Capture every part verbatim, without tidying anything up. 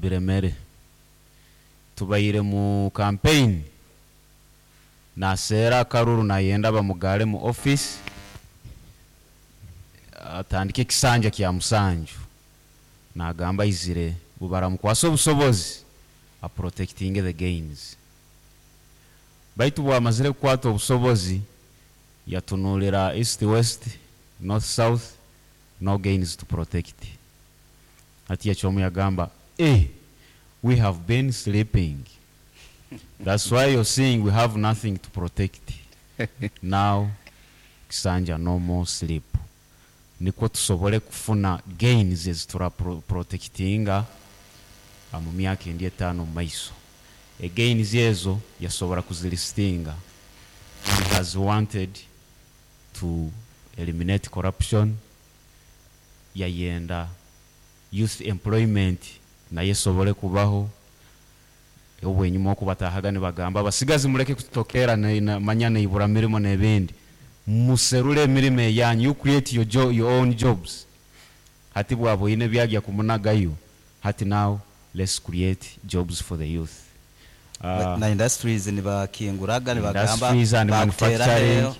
Biremere. Tubaire mu campaign, naseera akaruru, nayenda bamugale mu office, atandike ekisanja kya musanju. Nagamba aizire bubaramukwasa obusobozi a protecting the gains. Baitu bwamazire kukwata obusobozi, yatunulira east, west, north, south, no gains to protect. Hati yakyomu yagamba, "Eh, we have been sleeping, that's why you're seeing we have nothing to protect now." Kisanja, no more sleep, nikwo tusobole kufuna gains ezitura pro- protectinga ah, mu myaka endi etaano mu maiso. Egains ezo yasobora kuzilistinga. He has wanted to eliminate corruption, yayenda youth employment naye esobole kubaho. Obwenyuma okubatahaga nibagamba, "Abasigazi muleke kutokera ne- na- manya neibura mirimo n'ebindi, muserule emirimo eyanyu, you create your, jo your own jobs." Hati bwaba oyine byagya kumunagayo, hati now let's create jobs for the youth. Uh, na industries nibakinguraga, nibagamba Industries and bakuteraho manufacturing.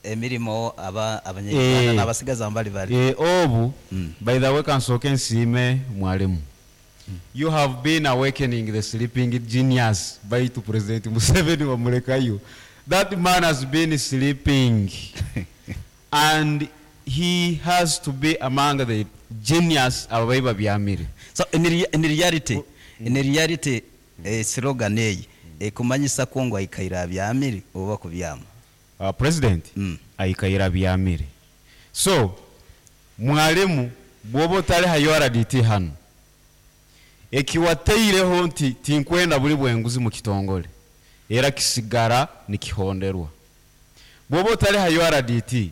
Emirimo aba abanyarwanda Eh. n'abasigaza bali bali. Eh, obu Mm. by the way, kansooke nsiime mwalimu. You have been awakening the sleeping genius. Baitu President Museveni wamulekayo. That man has been sleeping and he has to be among the genius ababayi babyamire. So in, rea- in reality in reality eh, slogan eyi ekumanyisa ko ngo aikaire abyamire oba kubyama? uh, president Mm. aikaira byamire. So mwalimu, bwoba otali ha U R D T hano, ekiwateireho nti tinkwenda buli bwenguzi mu kitongole, era kisigara nikihonderwa. Bwoba otali ha U R D T,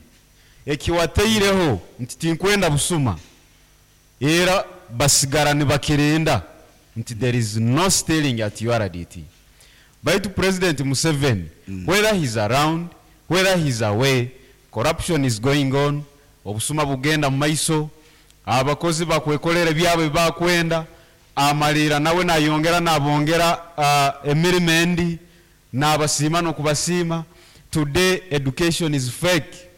ekiwateireho nti tinkwenda busuma, era basigara nibakirinda nti there is no stealing at U R D T. Baitu President Museveni, mm. whether he's around, whether he's away, corruption is going on. Obusuma bugenda mu maiso, abakozi bakwekolera byabwe bakwenda amalira, nawe nayongera nabongera uh, emirimo endi, nabasiima nokubasiima. Today education is fake.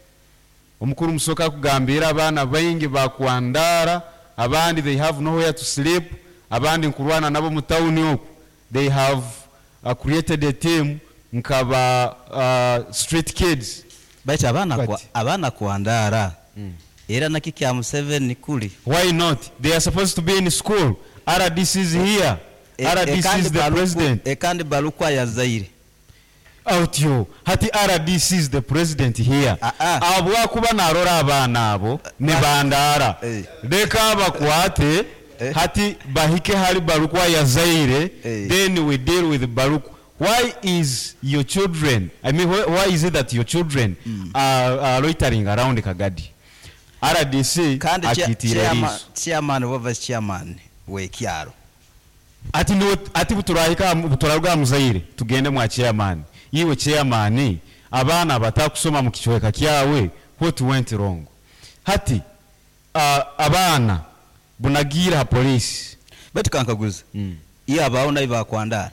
Omukuru musoka akugambira abaana baingi bakwandara, abandi they have nowhere to sleep, abandi nkurwana nabo mu tawuni oku. They have uh, created a team nkaba uh, street kids. Baitu abaana kwa, Bati. Abaana kwandara era naki kya Museveni kuli? Why not? They are supposed to be in school. R D C is here. E- R D C ekandi is the Baluku- president. Ekandi Balukwa yazaire. Otyo hati R D C is the president here. Ah, ah. Abwakuba narora abaana abo ne bandara, Eh. leka bakwate. Eh. Hati bahike hali Balukwa yazaire. Eh. Then we deal with Balukwa. Why is your children, I mean, why, why is it that your children are, are loitering around Kagadi? R D C Kandi chia- akitira chairman- eriiso. Chairman oba vice chairman w'ekyalo. Ati niwe ati buturahika buturaruga muzaire, tugende mwa chairman. Iwe chairman, abaana batakusoma mu kichweka kyawe, what went wrong? Hati uh, abaana bunagira ha police. Baitu kankaguza, mm. iyo abaho nayo bakwandara?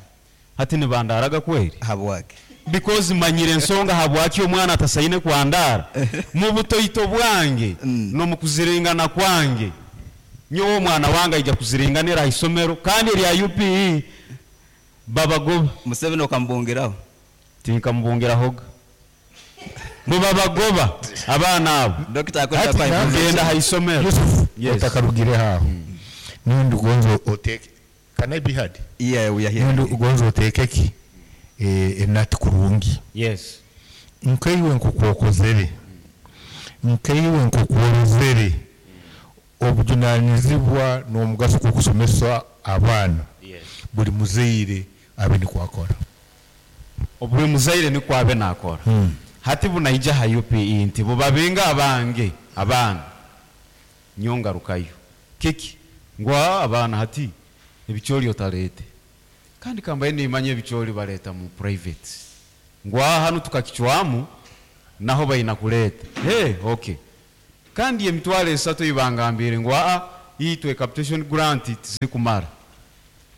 Hati nibandaraga kweri. Habwake? Because manyire ensonga habwaki omwana atasaine kwandara. Mu butoito bwange Mm. no mu kuziringana kwange, nyowe omwana wange aija kuziringanira ha isomero kandi erya U P E babagoba. Museveni okambungiraho? Tinkamubungirahoga, mubabagoba abaana abo. Dokita. Hati Akwenda. genda ha isomero. Yusuf, Yes. utakarugire haho, nundi ugonze oteke, can I be heard? Yeah, we are here. Nundi ugonze oteke ki eh, enati kurungi. Yes. Nkaiwe nkukwokozere, nkaiwe nkukworozere obujunanizibwa n'omugaso gw'okusomesa abaana, yes buli muzaire abe nikwakora. Buli muzaire nikwo abe nakora. Hmm. Hati bunaija ha U P E nti bubabinga abange abaana, nyongarukayo kiki ngwa abaana hati ebikyoli otalete, kandi kambaye nimanya ebikyoli baleta mu private. Ngwa hanu tukakichwamu naho baina kuleta. Hey, okay, kandi emitwalo esatu ibangambire ngu aa, itwe capitation grant tizikumara.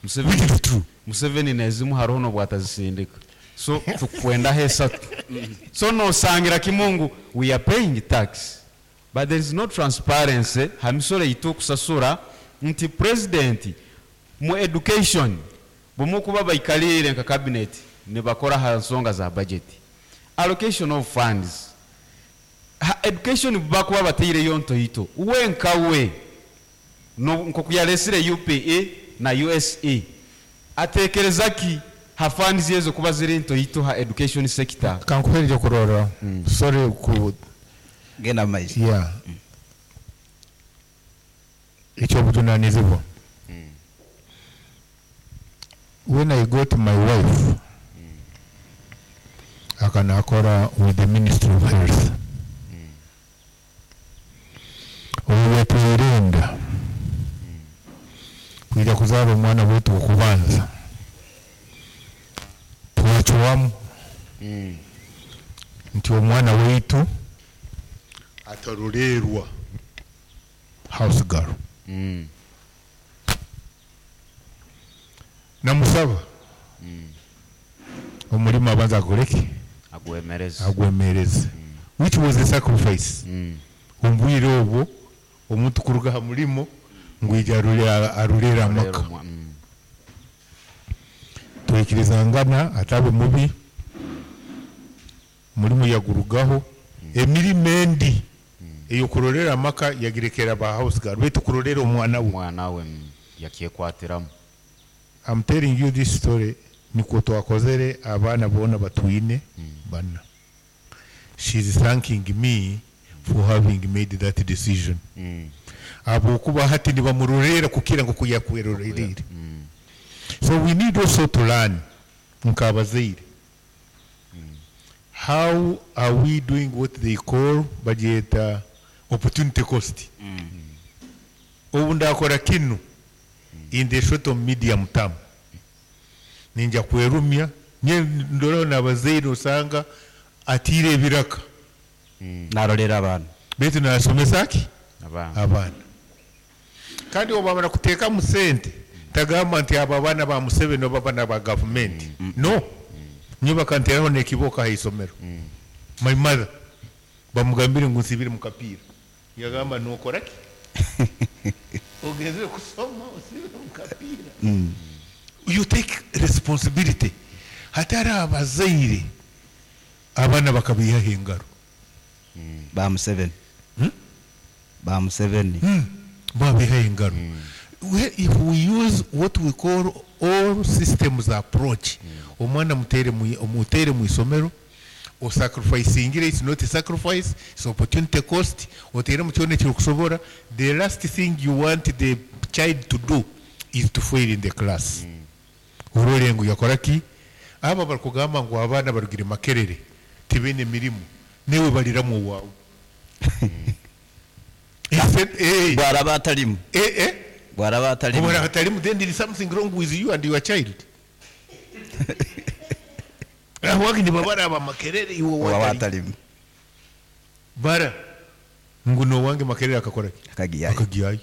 Museveni Which is true. Museveni nezimu hariho nobwatazisindika, so tukwendaho esatu. So nosangira kimungu we are paying tax, but there is no transparency ha misoro yitu okusasura nti president mu education bwemukuba baikalire nka cabinet nibakora ha nsonga za budget, allocation of funds ha education, bakuba bateireyo ntoito we nkawe no- nkoku yaresire U P E na U S E, atekereza ki ha funds ezo kuba ziri ntoito ha education sector? Kankuhereje kurora, sorry ku Genda maiso. Yeah, ekyobujunanizibwa, when I got my wife, akanakora with the Ministry of Health, obu yatwerinda kwija kuzaara omwana wetu okubanza, twacwamu nti omwana waitu atarolerwa house girl. Mm. Namusaba omulimo abanza akoleki? Agwemereze. Agwemereze, which was a sacrifice. Mm. Ombwire obwo omuntu kuruga ha mulimo ngwija arule- arulere amaka. Omwa- mm. Twikirizangana atabe mubi, mulimu yagurugaho, emirimo endi eyokurolera amaka yagirekera ba house girl, baitu kurolera omwana we omwana we mm, yakyekwatiramu. I'm telling you this story nikwo twakozere abaana boona batwine bana. She's thanking me for having made that decision, Mm. habwokuba hati nibamurorera kukira ngu kuyakwerorerire. Mm. So we need also to learn nk'abazaire, how are we doing what they call, bagyeta opportunity cost. Obu ndakora kinu in the short or medium term, ninja kwerumya nye ndoraho n'abazaire osanga atiire ebiraka Narolera abantu. Baitu nasomesa ki? Abaana. Abaana. Kandi obamara kuteekamu sente, tagamba nti abo abaana ba Museveni oba abaana ba gavumenti. No, nyo bakanteraho nekiboka haisomero. My mother bamugambire ngu nsibire mu kapiira, yagamba, "Nokora ki? Ogenzere kusoma osibire mu kapiira?" You take responsibility. Hatari abazaire abaana bakabihaho engaro. Ba Museveni, ba Museveni. Babihaho engaro. We- if we use what we call all systems approach, omwana mutere mu mutere mu isomero, osacrificingire, it's not a sacrifice, it's opportunity cost. Otere mu kyona ekirikusobora. The last thing you want the child to do is to fail in the class. Orole ngu yakora ki? Aba barikugamba ngu abaana barugire Makerere tibaine mirimu, newe baliramu owaawe. Eh, Bwaraba atalimu. eh, eh. Bwaraba atalimu. Obara hatalimu, then there is something wrong with you and your child. Ahwaki nibabara aba Makerere, iwe wawe watali. atalimu. Bara ngu nowange Makerere akakora ki? Akagiyayo. Akagiyayo.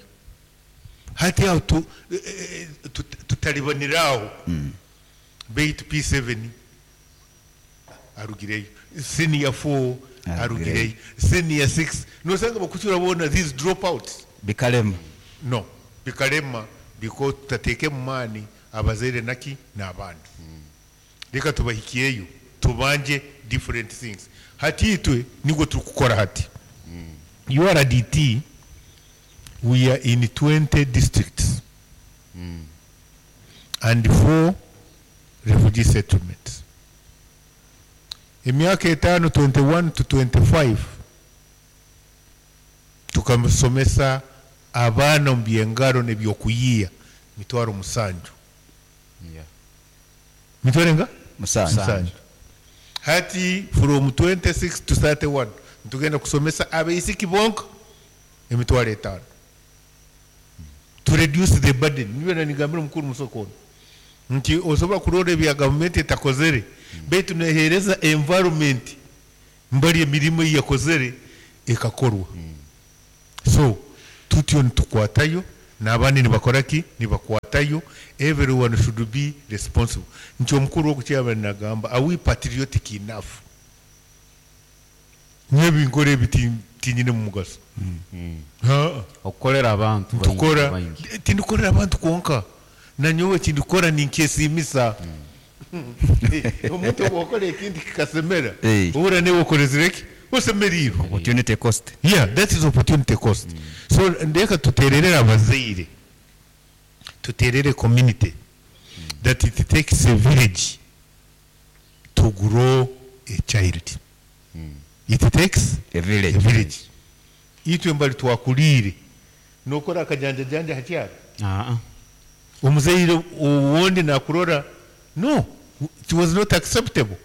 Hati aho tu, eh, eh, tut- tutalibaniraho, baitu P seven arugireyo, senior four Arugireyo. arugireyo, senior six, nosanga bakucyura bona these dropouts. Bikalema. No, bikalema because tutateeke mu maani abazaire naki n'abaana. Reka tubahikiyeyo, tubanje different things. Hati itwe nigwo turikukora hati U R D T, we are in twenty districts and four refugee settlements. Emyaka etaano, twenty-one to twenty-five, tukamusomesa abaana omu byengaro n'ebyokuyiiya mitwaro musanju. Yeah. Mitwaro enga? Musanju. Musanju. Hati from twenty-six to thirty-one ntugenda kusomesa abaisiki bonka emitwaro etaano to reduce the burden. Nibyo nanigambira omukuru musokono nti osobola kurora ebya gavumenti etakozere, baitu nehereza environment mbali emirimu eyakozere ekakorwa. So tutyo nitukwatayo. N'abandi nibakora ki? Nibakwatayo. Everyone should be responsible. Nti omukuru ogu nagamba, are we patriotic enough? Nyowe binkora ebi ti- tinyine mu mugaso. Ha, Okukorera abantu baingi- tukora baingi. Tindikorera abantu kwonka, nanyowe kindikora ninkyesimisa. Omuntu obwokora ekintu kikasemera, Eh. ohura newe okorezire ki, osemerirwe. Opportunity cost. Yeah, that is opportunity cost. So ndeka tuterere abazaire, tuterere community, that it takes a village to grow a child. It takes a village. A village. Itwe mbali twakulire nokora akajanjajanja hakyaro, Ah, ah. omuzaire owundi nakurora, no, it was not acceptable.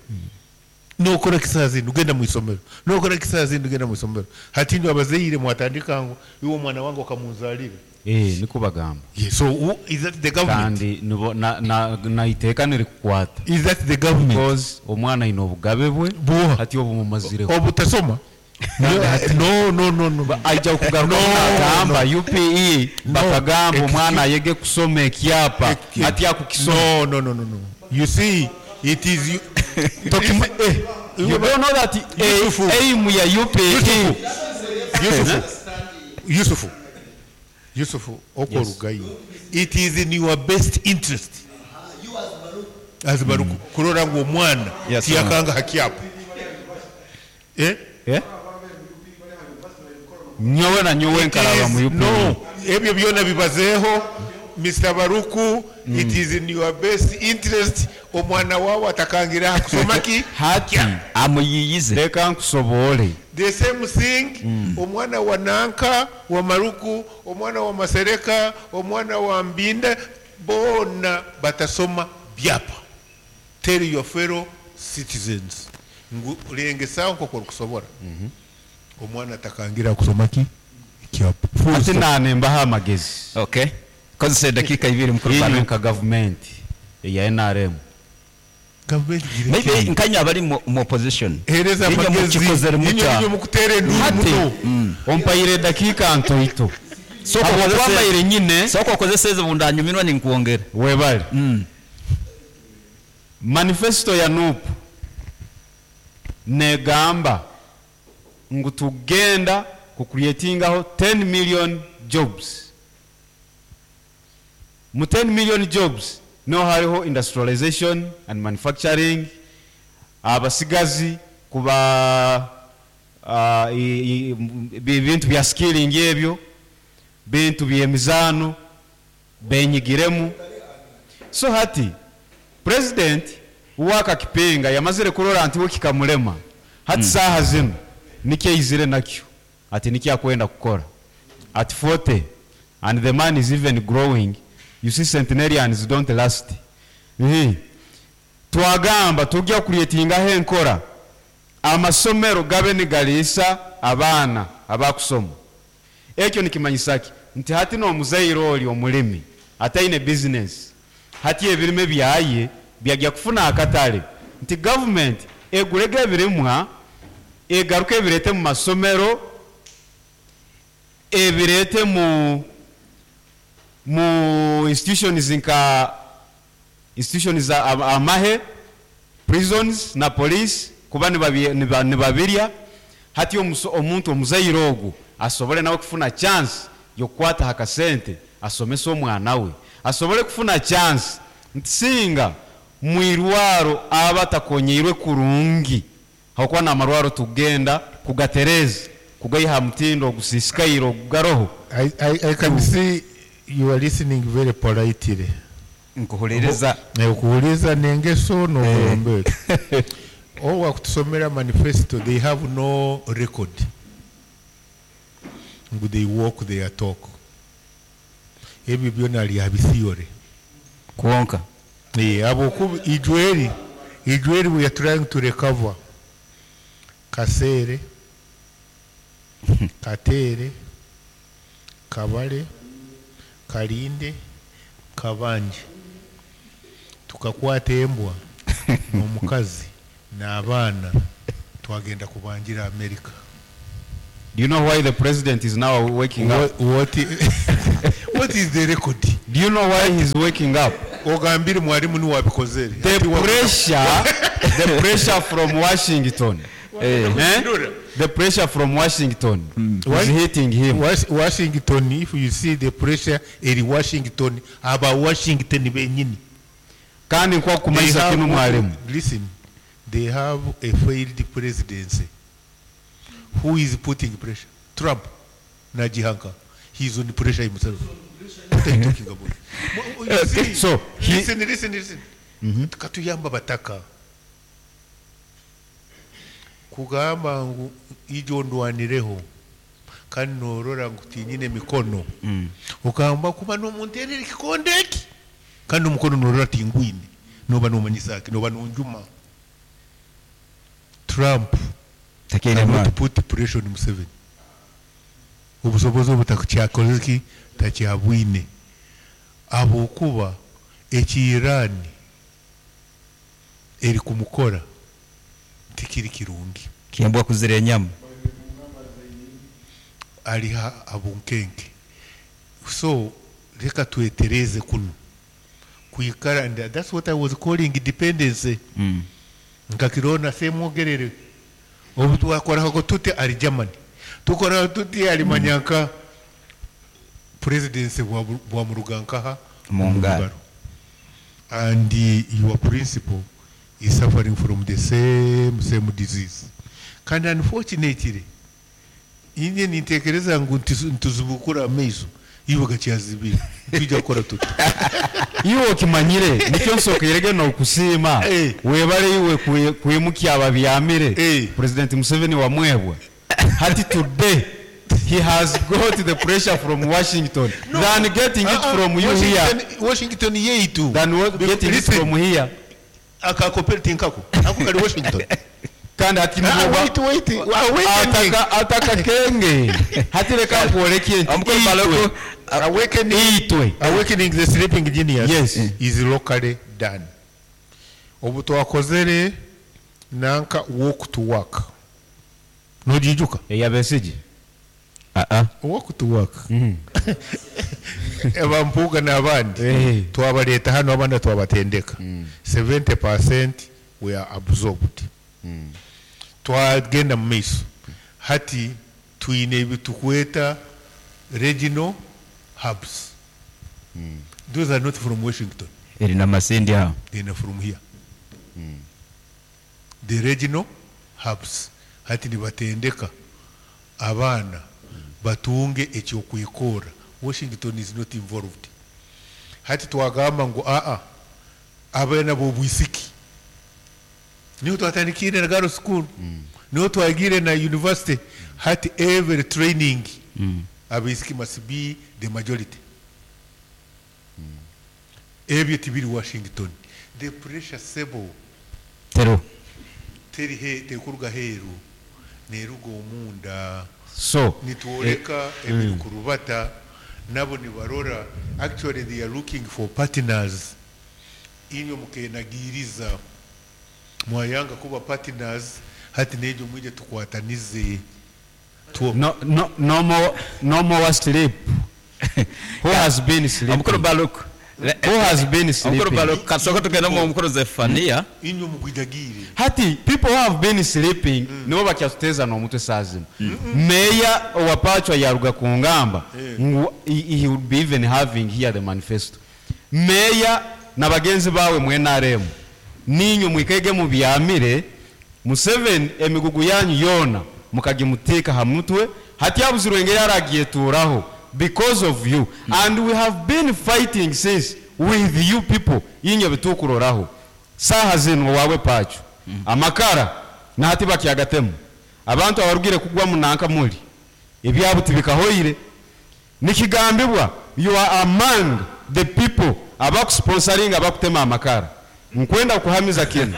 Nokora kisaazi ugenda mwisomero, nokora kisaazi ugenda mwisomero. Hati ndo abazaire mwatandika ngu iwe omwana wange okamunzalire. Eh, niko bagamba. Yeah, so who, is that the government? Kandi nibo na na na iteeka nirikukwata. Is that the government? Because omwana aine obugabe bwe. Buha? Hati obumumazireho. Obutasoma, no no no no Aija kugaruka No, nagamba U P E bakagamba Excuse- omwana ayege kusoma ekyapa, ati akukisoma. No, no, no, no, no. You see, it is you. Tokima- eh, you don't know that eh, Yusufu. aim ya U P E. Yusufu, Yusufu, Yusufu, Yusufu, okorugayo. It is in your best interest as Baruku kurora ngu omwana Yes, tiyakanga hakyapa, eh? Eh? Nyowe na nyowe nkaraba mu It is- U P E. No, ebyo byona bibazeeho, Mister Baruku. It is in your best interest omwana wawe atakangira kusoma ki? Hati amuyiyize. Leka nkusobole. The same thing, omwana wa nanka wa Maruku, omwana wa Masereka, omwana wa Mbinda, bona batasoma byapa. Tell your fellow citizens ngu lengesaho nkoko orikusobora omwana atakangira kusoma ki? Ekyapa. Full Ati stop. nanembaho amagezi. Okay, kozesa edakika ibiri, mukuru Inywe Baruku. nka gavumenti eya N R M. Gavumenti gira Maybe ki? nkanya abali mu mu opposition. Hereza Inywe amagezi. mukikozere Inywe muta? inywe mukuteera enduru Hati muno. ompaire edakiika ntoito. Soko Habwokuba okozese- mbaire nyine. Soko okozesa ezo bundanyumirwa ninkwongera. Webale. Mm. Manifesto ya N U P negamba ngu tugenda kucreatingaho ten million jobs. Mu ten million jobs niho hariho industrialization and manufacturing, abasigazi kuba uh, i- i- m- bintu bya skilling, ebyo bintu byemizaano benyigiremu. So hati president wakakipenga yamazire kurora nti we kikamulema. Hati mm. saha zino nikyo aizire nakyo, ati nikyo akwenda kukora at forty, and the man is even growing. You see, centenarians don't last. Ehe. Twagamba tujya kucreatingaho enkora amasomero gabe nigaliisa abaana abakusoma. Ekyo nikimanyisa ki? Nti hati n'omuzaire oli omulimi ataine bizinesi, hati ebirime byaye byajya kufuna akatale, nti gavumenti egurege ebirimwa, egaruke ebirete mu masomero, ebirete mu mu institutions nka institutions za am- amahe, prisons na police, kuba nibabi- niba- nibabirya. Hati omuso- omuntu omuzaire ogu asobole nawe kufuna chance yokukwata hakasente asomese omwana we, asobole kufuna chance nti singa mwirwaro aba atakonyeirwe kurungi, hakuba namarwaro tugenda kugatereza kugaiha mutindo ogusisikaire ogugaroho. I, I, I can see you are listening very politely. Nkuhuliriza. Okuwuliza n'engeso n'okulombera. Owa kutusomera manifesto, they have no record ngu they walk their talk. Ebyo byona lya theory. Kwonka Eh, abo ijweri ijweri we are trying to recover Kasere, Katere, Kabale, Kalinde, Kabanje. Tukakwata embwa n'omukazi n'abaana, twagenda kubanjira America. Do you know why the president is now waking up? What, what, what What is the record? Do you know why he's waking up? Ogambire mwalimu niwe wabikozere. The pressure, the pressure from Washington. Eh. Eh? The pressure from Washington is Why? hitting him. Was- Washington, if you see the pressure eri Washington, aba Washington benyini. Kandi nkwa They kumanyisa have- kinu mwalimu. Listen, they have a failed presidency. Who is putting pressure? Trump. Najihanka. He's on pressure himself. What are you talking about? Mo- you see, So, he- listen, listen, listen. Katuyamba bataka. Kugamba ngu ijo ndwanireho kandi norora ngu tinyine mikono ukamba kuba nomunterera ekikonde eki kandi omukono norora tingwine noba nomanyisaki noba nonjuma. Trump Takeine cannot maani. put pressure on Museveni. Obusobozi obu takyakoze ki takyabwine ahabwokuba eki Iran eri kumukora tikiri kirungi. Kembwa kuzira enyama. Ari ha abunkenke. So reka twetereze kuno kuikara, and that's what I was calling dependency. Mm. Nkakirona semwogerere obu twakoraho tute ari Germany, tukoraho tuti ari manyanka presidency bwa bwa murugankaha Mu ngaro. And your principal is suffering from the same same disease. Kandi unfortunately inye nintekereza ngu ntizu- ntuzibukura amaiso iwe gakyazibira tujja kukora tuti. Iwe okimanyire nikyo nsokeirege nokusiima. Eh. Webale iwe kwe- kwimukya ababyamire. Eh. President Museveni wamwebwa hati today he has got the pressure from Washington than getting it Uh-uh. from you here. Washington, Washington yeitu Than what- getting it Listen. from here. Akakoperative nkako ako kali Washington. Kandi hati Ah, nibo wait, wait. Ah, wait a minute. ataka ataka kenge hati reka nkwoleke nti Omukuru itwe Baloku, Awakening, itwe awakening the sleeping genius Yes. is locally done. Obu twakozere nanka walk to work. Nojijuka? Eyabesigi. Ah, ah. Walk to work. Abampuga n'abandi Eh. twabaleeta hano, abandi twabatendeka. seventy percent were absorbed. Twagenda mu maiso hati twine ebitukweta regional hubs. Those are not from Washington. Eri namasindi aho. They are from here, the regional hubs. Hati nibatendeka abaana batunge ekyokwekora. Washington is not involved. Hati twagamba ngu aa abaana b'obwisiki niho twatandikire na girls school, niho twagire na university. Hati every training, abaisiki must be the majority. Ebyo tibiri Washington. The pressure sebo Tero. teri he tekuruga heru, neruga omunda. So Nitwoleka ebiri kurubata nabo nibarora. Actually, they are looking for partners. Inywe mukenagiriza mwayanga kuba partners, hati nejo mwije tukwatanize. Tuo- no no no more no more sleep. Who has been sleeping? Omukuru Baloku. Who has been Omukuru sleeping? Baloku kasoko tugenda mu mukuru Zefania. Inywe mugwijagire. Hati people who have been sleeping nibo bakyatuteza n'omutwe saa zino. Meya owapachwa yaruga ku ngamba ngu he, he would be even having here the manifesto. Meya na bagenzi bawe mu N R M, ninywe mwikege mubyamire Museveni emigugu yanyu yona mukagimuteeka ha mutwe. Hati yabuzirwe engeri aragieturaho because of you, and we have been fighting since with you people. Inywe bitukuroraho saha zino wawe pacho amakara nahati bakyagatemu abantu abarugire kugwa munanka muli ebyabo tibikahoire. Nikigambibwa you are among the people abakusponsoringa abakutema amakara. Nkwenda kuhamiza kinu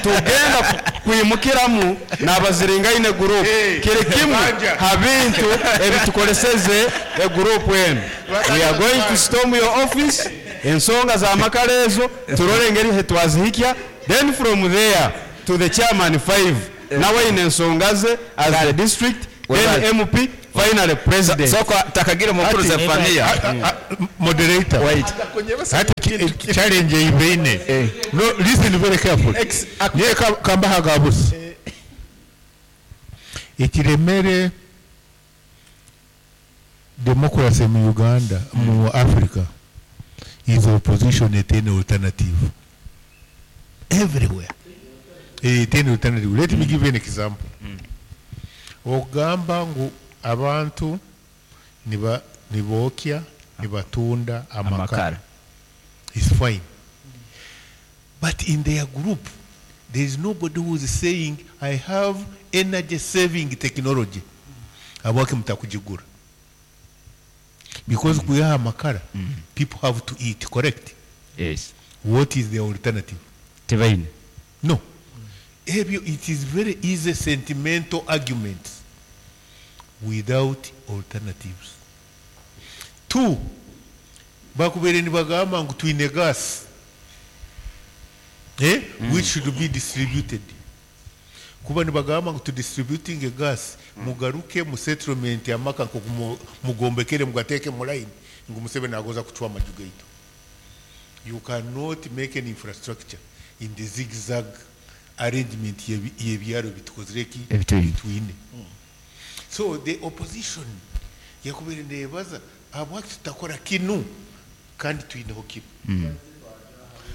tugenda ku- kwimukiramu n'abaziringaine group. Hey, kiri kimwe Banja. ha bintu ebitukoleseze egroup enu. We are going to storm your office. Ensonga za makara ezo turole engeri hetwazihikya, then from there to the chairman five nawe ine ensonga ze as the district, then Webale. M P Finally, President. Soko takagira mukuru Ati- Zefania. Ah, ah, moderator. Wait. Hati ki- challenge eibeine. Eh. No, listen very carefully. Ex- Niye ka- kambaha gabusa. Ekiremere democracy mu Uganda, mu Africa, is opposition etene alternative. Everywhere. Eh, Etene alternative. Let me give you an example. Ogamba ngu abantu niba nibookya nibatunda amakara Amakara. Is fine. But in their group, there is nobody who is saying, "I have energy saving technology." Abwake mutakujigura. Because kuyaha amakara, people have to eat, correct? Yes. What is the alternative? Tebaine. No. Ebyo, it is very easy sentimental arguments without alternatives. Two, bakubere nibagamba ngu twine gas, eh? Which should be distributed. Kuba nibagamba ngu tudistributing a gas, mugaruke mu settlement amaka nko mugombekere mugateke mu line ngu Museveni agoza kuchwa amaju gaitu. You cannot make an infrastructure in the zigzag arrangement y'ebi- y'ebyaro bitukozireki. Ebitwine. Bitwine. So the opposition yakubere nebaza habwaki tutakora kinu kandi twineho kinu.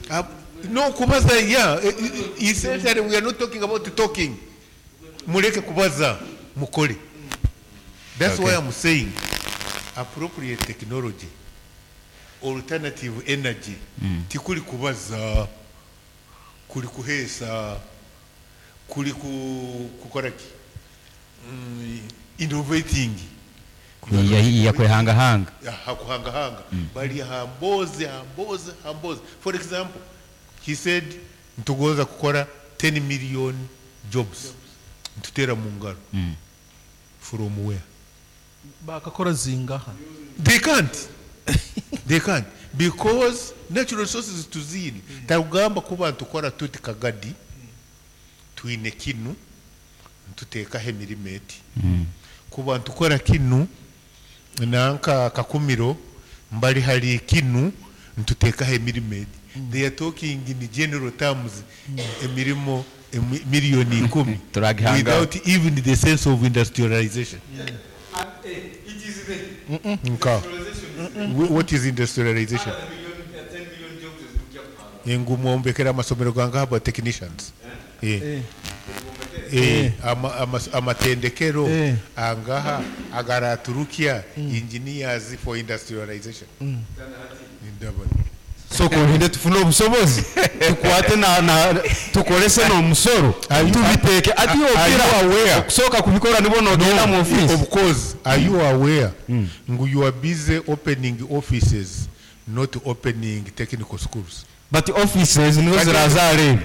Ab- no kubaza, yeah, eh, eh, essentially we are not talking about talking. Muleke kubaza, mukole. That's Okay. why I'm saying appropriate technology, alternative energy, tikuli kubaza, kuli kuhesa, kuli ku, kukora ki, mm, innovating. Yakwehangahanga. Hakuhangahanga bali hamboze hamboze hamboze. For example, he said ntugoza kukora ten million jobs, ntutera mu ngaro. From where? Bakakora zingaha? They can't, they can't, because natural resources tuzine. Tagamba kuba ntukora tuti Kagadi twine kinu, ntutekaho emirimo eti, kuba ntukora kinu nanka Kakumiro mbali hari kinu, ntutekaho emirimo eti. They are talking in general terms, emirimo emi- miliyoni ikumi Turagihanga. without even the sense of industrialization. It is the Nka Wh- what is industrialization? Ngu mwombekera amasomero gange aba technicians. Eh. Eh. Eh, ama- ama- amatendekero Eh. angaha agaraturukia engineers for industrialization. Ndabona. So kuhinde tufune obusobozi tukwate na, na tukolese n'omusoro tubiteeke ati Are you aware? okusooka kubikora nibo nogenda mu office. Of course, are you aware ngu you are busy opening offices, not opening technical schools? But offices nizo Kati- zirazareeba.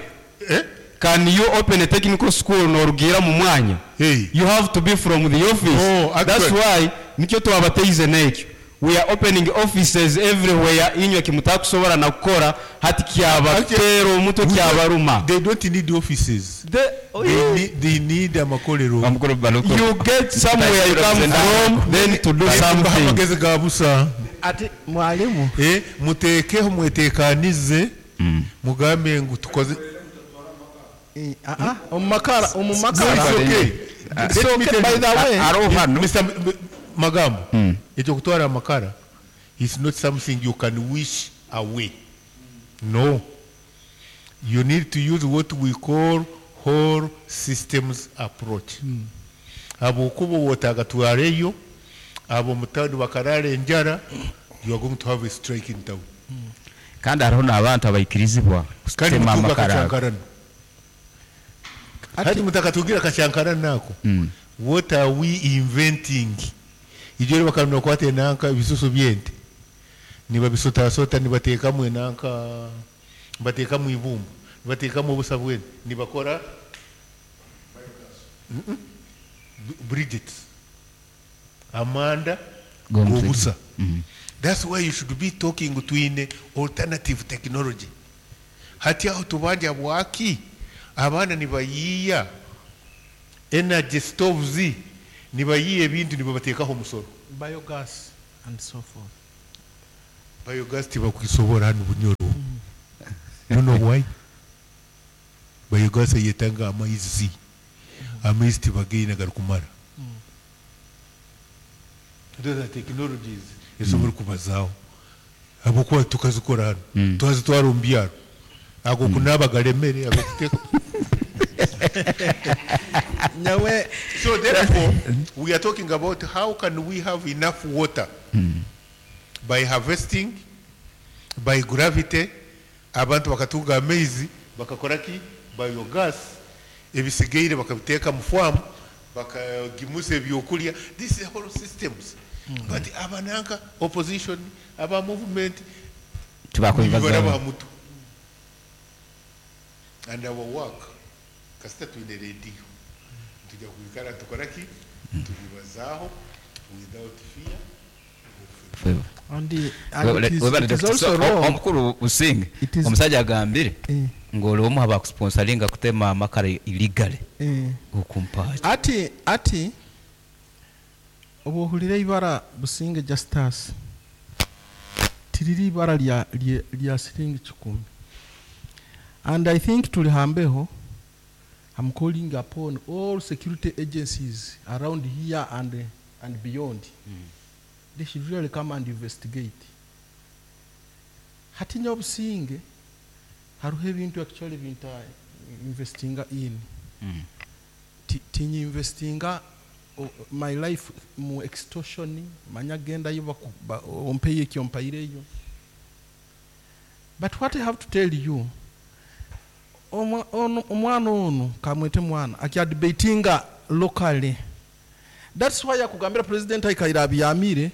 Eh? Can you open a technical school norugira mu mwanya? Hey. You have to be from the office. Oh, That's actually- why nikyo twabateize n'ekyo. We are opening offices everywhere. Inywe kimutakusobora na kukora hati kyabatera omutwe, kyabaruma. They don't need offices. The- They need, they need amakolero. Bamukuru Baluku. You get somewhere you come from, then to do something. Amagezi ga busa. Ati mwalimu. Eh, muteekeho mwetekanize, mugambe ngu tukoze. Eh, ah, ah, omumakara No, omumakara. it's okay. It's Let me okay, tell by you. the way. Hariho hano. Mister M- M- Magambo, ekyo kutwara amakara is not something you can wish away. No, you need to use what we call whole systems approach. Abokuba wotagatwareyo abo mutawuni bakarara enjara, you are going to have a strike in town. Kandi hariho n'abantu abaikirizibwa Kandi kutema mutunga amakara. akacyankarano hati mutakatugira akacyankarano ako. What are we inventing? Ibyo rero bakamenya kwate nanka ibisusu byente nibabisotasota, nibateekamu enanka, nibateekamu ibumba, nibateekamu obusa bwente, nibakora Mm-mm. B- bridgets amanda Gombe. gobusa. That's why you should be talking twine alternative technology. Hati aho tubanja bwaki abaana nibayiiya energy stoves. Nibayiiya ebintu nibabateekaho omusoro. Biogas and so forth. Biogas tibakwisobora hanu Bunyoro. You know why? Biogas eyetanga amaizi. Amaizi tibagaine garikumara. Those are technologies ezisobora kubazaaho. Habwokuba tukazikora hanu. Twazitwara omu byaro. Ago kunaaba garemere, ago kuteeka. Nyawe. So therefore, we are talking about how can we have enough water by harvesting, by gravity, abantu bakatunga amaizi, bakakora ki? Biogas, ebisigaire bakabiteeka mu farm, bakagimusa ebyokulya. This is whole systems. But abananka opposition, aba movement, Tibakwibazaho. mutu. And our work, kasita twine radio, tujja kwikara tukora ki? Tubibazaaho without fear. And, the, and it is, it is also wrong. Omukuru Businge, It is- omusajja agambire Eh, ng'oli omu abakusponsoringa kutema amakara illegally eh. okumpaaki. Ati ati obuhulire ibara Businge Justus tiriri ibara lya lya, lya siringi kikumi. And I think tulihambeho, I'm calling upon all security agencies around here and, and beyond. They should really come and investigate. Hati Nyabusinge hariho ebintu actually binta investinga in. Ti- tinyi investinga o- my life mu extortion, manya gendayo baku- ba- ompeye ekyo mpaireyo. But what I have to tell you, omwa- ono- omwana ono kamwete mwana akyadebatinga locally. That's why akugambira president aikaire abyamire,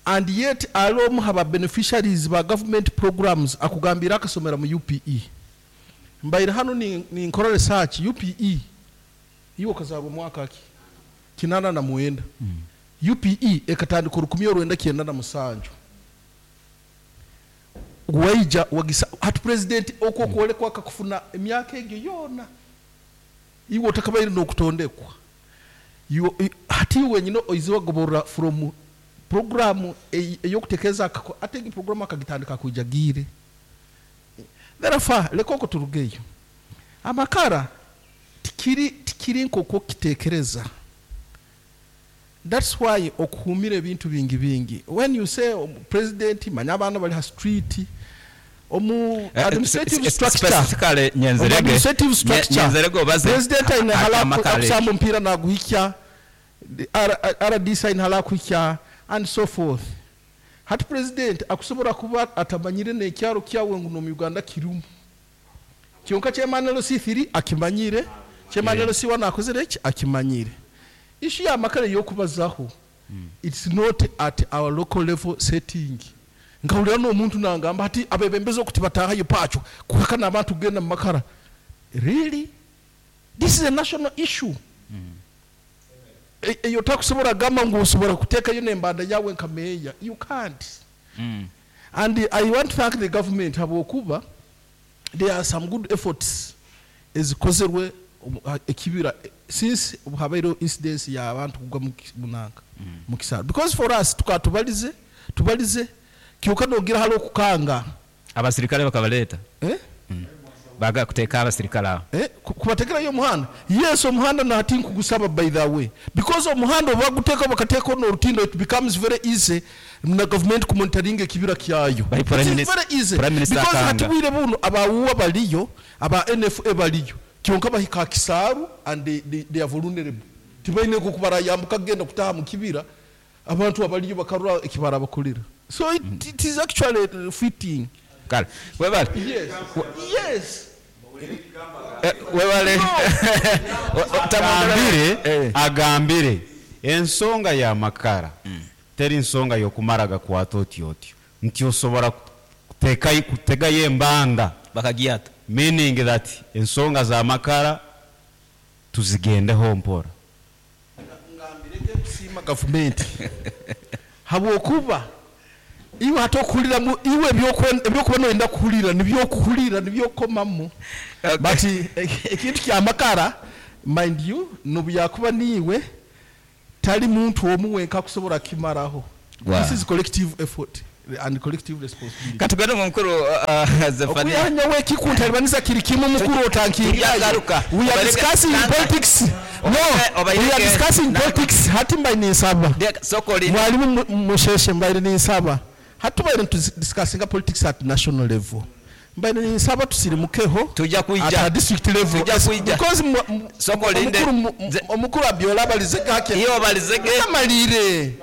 and yet ali omu haba beneficiaries ba government programs akugambira akasomera mu U P E. Mbaire hano ni- ninkora research. U P E iwe okazarwa omwaka ki? Kinana na mwenda. U P E ekatandika orukumi orwenda kyenda na musanju. Waija wagisa hati president okwo okwolekwa akakufuna emyaka egyo yoona iwe otakabaire n'okutondekwa. Iwe- i- hati iwe wenyine oize wagoborora from programu ey'okutekereza akako ate egi programu akagitandika kwija giire. Therefore leka okwo turugeyo. Amakara tikiri tikiri nk'okwo kitekereza. That's why okuhumira ebintu bingi bingi when you say um, president manya abaana bali ha street omu administrative structure. Specifically Omu Nyenzerege. administrative structure. Nyenzerege obaze President aine hala amakara akusamba omupiira naguhikya, R D C aine hala akuhikya and so forth. Hati president akusobola kuba atamanyire n'ekyaro kyawe ngu n'omu Uganda kirimu, kyonka chairman L C three akimanyire, chairman L C one akozere eki akimanyire. Issue y'amakara ey'okubazaho, it's not at our local level setting. Nkahurira n'omuntu nangamba ati abebembezi okuti batahayo pacho kuhakana abantu kugenda mu makara. Really, this is a national issue. E- eyo takusobola gamba ngu osobola kuteekayo n'embanda yawe nka meeya. You can't. Mm. And I want to thank the government habwokuba there are some good efforts ezikozerwe omu- ha- ekibira since habaireho incidence y'abantu kugwa mu ki- munanka mu kisaro, because for us tukaba tubalize tubalize kyokka nogira hali okukanga. Abasirikale bakabaleeta. Eh? Baga kuteeka abasirikale awo. Eh, ku- kubategerayo omuhanda. Yes, omuhanda nati nkugusaba, by the way, because omuhanda oba guteeka bakateeka n'orutindo, it becomes very easy na government kumonitoringa ekibira kyayo. By Prime It is Minister- very easy Prime Minister because akanga. hati bwire buno abawuwa baliyo, aba N F A baliyo, kyonka bahika kisaaru and they, they, they are vulnerable. Tibaine kubarayambuka kugenda kutaha mu kibira, abantu abaliyo bakarura ekibara bakolera. So it, it is actually uh, fitting. Kale webale. yes yes Eh, webale. Agambire. Eh. Agambire ensonga y'amakara teri nsonga y'okumara gakwata otyo otyo nti osobola kuteekayo kutegayo embanda. Bakagyata. Meaning that ensonga z'amakara tuzigendeho mpora. Ngambirege kusiima gavumenti habwokuba iwe hati okuhuriramu iwe ebyokwe- ebyokuba noyenda kuhurira nibyokuhurira nibyokomamu. Okay. But eh, ekintu kyamakara, mind you, nobu yakuba niiwe Tali muntu omu wenka kusobola kimaraho. Wow. This is collective effort and collective responsibility. Katugende mu mukuru uh, Zephania. Okuyanya wekikuntalibaniza kiri kimu mukuru otankingirayo. Tujagaruka. We are Obareke- discussing Nanga. politics. No, Obareke- we are discussing Nanga. politics. Hati mbaire ninsaba. Ndeka- soko olinde. Mwalimu mu- Musheshe, mbaire ninsaba. Hati tubaire nitudiscussinga politics at national level. Mbaire ninsaba tusirimukeho Tujja at kwijja. a district level. Tujja kwijja. Because mu- mu- Soko olinde. omukuru mu- Nze- omukuru Abiola abalize gake. Iyo obalizege. Ndeka malire.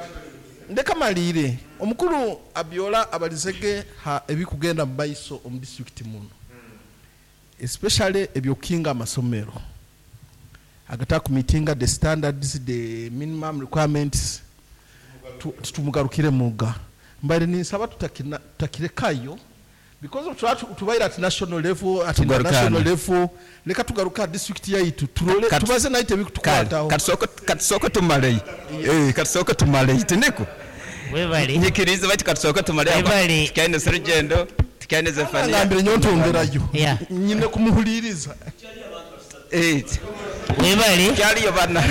Ndeka malire. Omukuru Abiola abalizege ha ebikugenda mu maiso omu district muno. Especially ebyokinga amasomero. Agatakumeetinga the standards, the minimum requirements. Tu- Tumugarukire muga. Mbaire ninsaba tutakina tutakirekayo because of tuba tubaire at national level, at Tugarukane. international level, leka tugaruka district yaitu turole Kat- tubaze naite Kale, ebikutukwataho. katusooke katusooke tumaleyo. Eh, katusooke tumaleyo tiniko. Webale. Nyikiriza bati katusooke tumaleyo. Webale. Tukaine Serugendo, tukaine Zephania. Ngambire nyontongerayo. Yeah. Nyine kumuhuliriza. Eh, Webale. kyaliyo bana.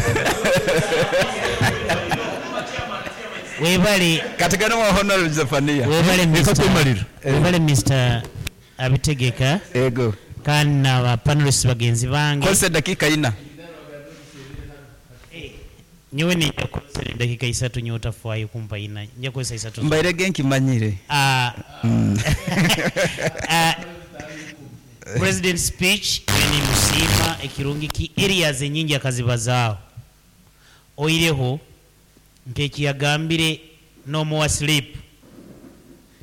Webale. Katugende mu Honorable Zephania. Webale Reka Mister kwemalira. Webale Mister Abitegeka Ego. kandi n'aba panelists bagenzi bange. Kozesa eddakiika ina. Nyowe nijja kukozesa eddakiika isatu, nyowe otafaayo kumpa ina, nja kukozesa isatu. Mbairege nkimanyire. Ah, ah, president speech nimusiima ekirungi ki areas enyingi akazibazaaho, oireho nk'ekiyagambire no more sleep,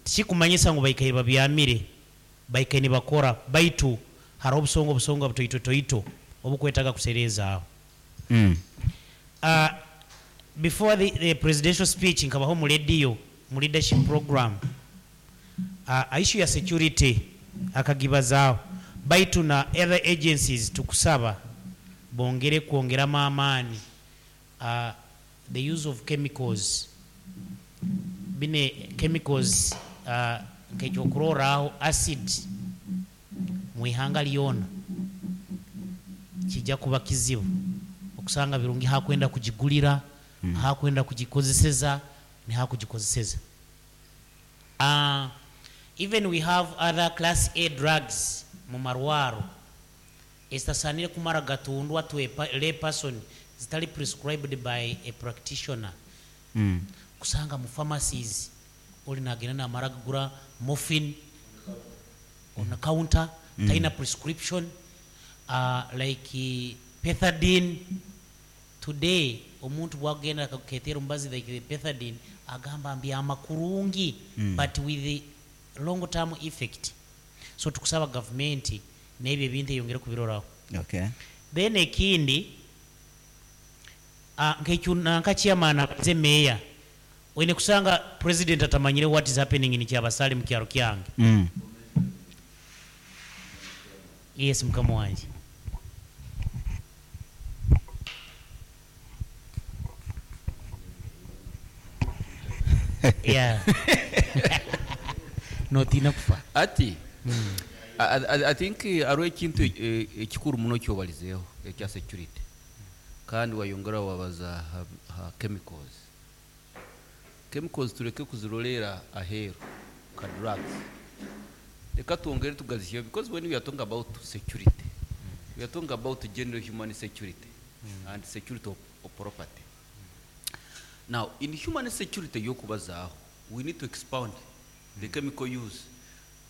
tikikumanyisa ngu baikaire babyamire, baikaire nibakora, baitu hariho obusonga obusonga butoitotoito obukwetaaga kusereezaaho. Mm. Uh, before the, the presidential speech nkabaho mu radio mu leadership program, uh, issue ya security akagibazaaho, baitu na other agencies tukusaba bongere kwongeramu amaani, uh, the use of chemicals, bine chemicals, uh, nk'ekyokurorraho acid mu ihanga lyona kijja kuba kizibu okusanga birungi hakwenda kugigulira, mm. hakwenda kugikozeseza ni hakugikozeseza. Uh, even we have other class A drugs mu marwaro ezitasaanire kumara gatundwa to a pa-, lay person, zitali prescribed by a practitioner. Mm. Kusanga mu pharmacies oli nagenda namara kugura morphine on the counter, mm. taina prescription, uh, like uh, pethidine. Today omuntu bwagenda akaketera omubazi like the pethidine agamba mbyama kurungi, mm. but with the long term effect. So tukusaba government n'ebyo ebintu eyongere kubiroraho. Okay. Then ekindi, uh, nkekyo nanka chairman abaze mayor wene kusanga president atamanyire what is happening in Kyabasale mu kyalo kyange. Mm. Yes, mukama wanje. Yeah. Notina kufa. Ati I, I, I think eh, hariho ekintu eh, ekikuru muno kyobalizeeho ekya security, kandi wayongera wabaza ha, ha chemicals. Chemicals tureke kuzirolera aheeru ka drugs, reka twongere tugazihyeho, because when we are talking about security, we are talking about general human security and security of, of property. Now in human security yokubazaaho, we need to expound the chemical use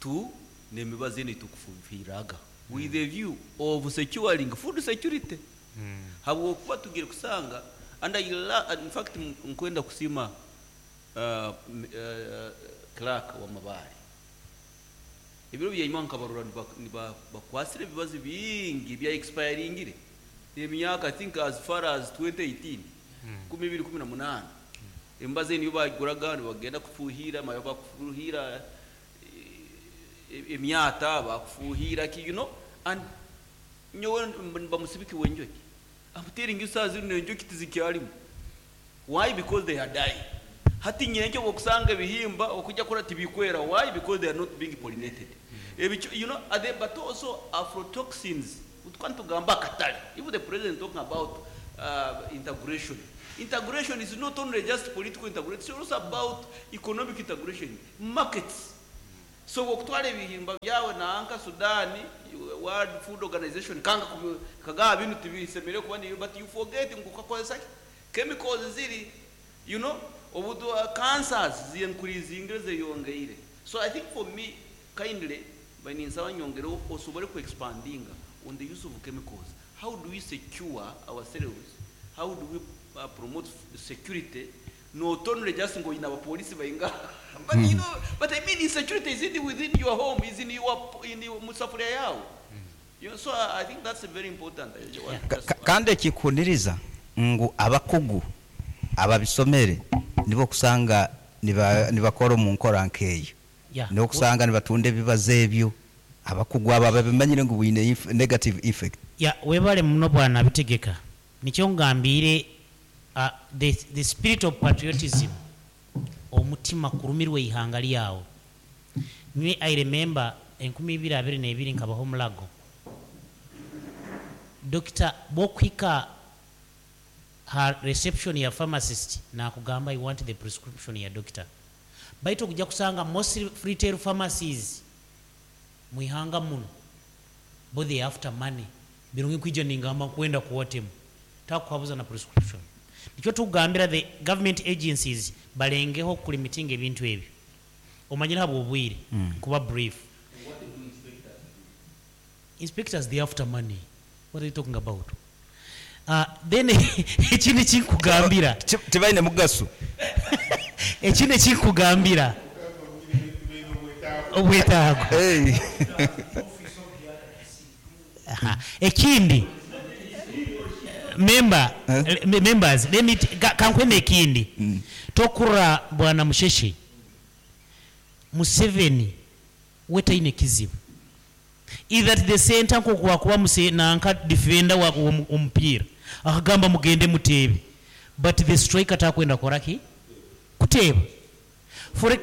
to n'emibazi enu tukufuhiraga with a view of securing food security, habwokuba tugire kusanga. And I la, in fact m- nkwenda kusima uh, m- uh, clerk wa Mabare, ebiro byenyuma nkabarora niba- niba- bakwasire ebibazi bingi bya expiringire emyaka, I think as far as twenty eighteen, kumi ibiri kumi na munana. Embazi niyo baguraga nibagenda kufuhira mayo, bakufuhira eh, emyata, bakufuhira ki, you know and nyowe bamusibiki wenjoki. I'm telling you, saa zino enjoki tizikyalimu. Why? Because they are dying. Hati nyenjo okusanga ebihimba okujja kola tibikwera. Why? Because they are not being pollinated. Ebicho, you know are they, but also aflatoxins, utwantu tugamba akatale. If the president talking about uh, integration Integration is not only just political integration, it's also about economic integration, markets. So okutwala ebihimba byawe nanka Sudan, World Food Organization kanga kubi- kagaba binu tibisemere kuba niyo, but you forget ngu kakozesa ki? Chemicals ziri, you know, obudu uh, cancers zincreasing zeyongeire. So I think for me, kindly, baninsaba nyongere osobole ku expandinga on the use of chemicals. How do we secure ourselves? How do we uh, promote security? Not only just ngo ina abapolisi bayinga, but you know, but I mean insecurity is in within your home, is in your in your musafuria yao. You know, so I, I think that's very important. I want Ka- just ka- kandi ekikuniriza ngu abakugu ababisomere nibo kusanga niba- nibakora omu nkora nkeeyo. Yeah. Nibo kusanga nibatunda ebibazo ebyo abakugu abo ababimanyire ngu bwine inf- negative effect. Ya, webale muno bwana bitegeka. Nikyo ngambire, uh, the, the spirit of patriotism, omutima kurumirwa ihanga lyawo. Nywe I remember enkumi ibiri abiri n'ebiri nkabaho omulago. Dokita bwokuhika ha reception ya pharmacist nakugamba, "I want the prescription ya doctor." Baitu okujja kusanga most retail pharmacies mwihanga muno bo they after money. Birungi kwija ningamba kwenda kuwatemu takuhabuza na prescription. Nikyo tugambira the government agencies balengeho kulimitinga ebintu ebyo. Omanyire habwo obwire mm. Kuba brief. Inspectors, they after money. What are you talking about? Uh, then ekindi kinkugambira, Ti- tibaine mugaso. Ekindi kinkugambira obwetaago. Hey. Aha. Ekindi, member, Eh? eh, members, let me t- ka- kankweme ekindi tokura bwana Musheshe. Museveni we taine kizibu either at the center nkokuwakuba muse nanka defender wa omu- omupiira akagamba mugende muteebe, but the striker takwenda koraki kuteeba. for, e-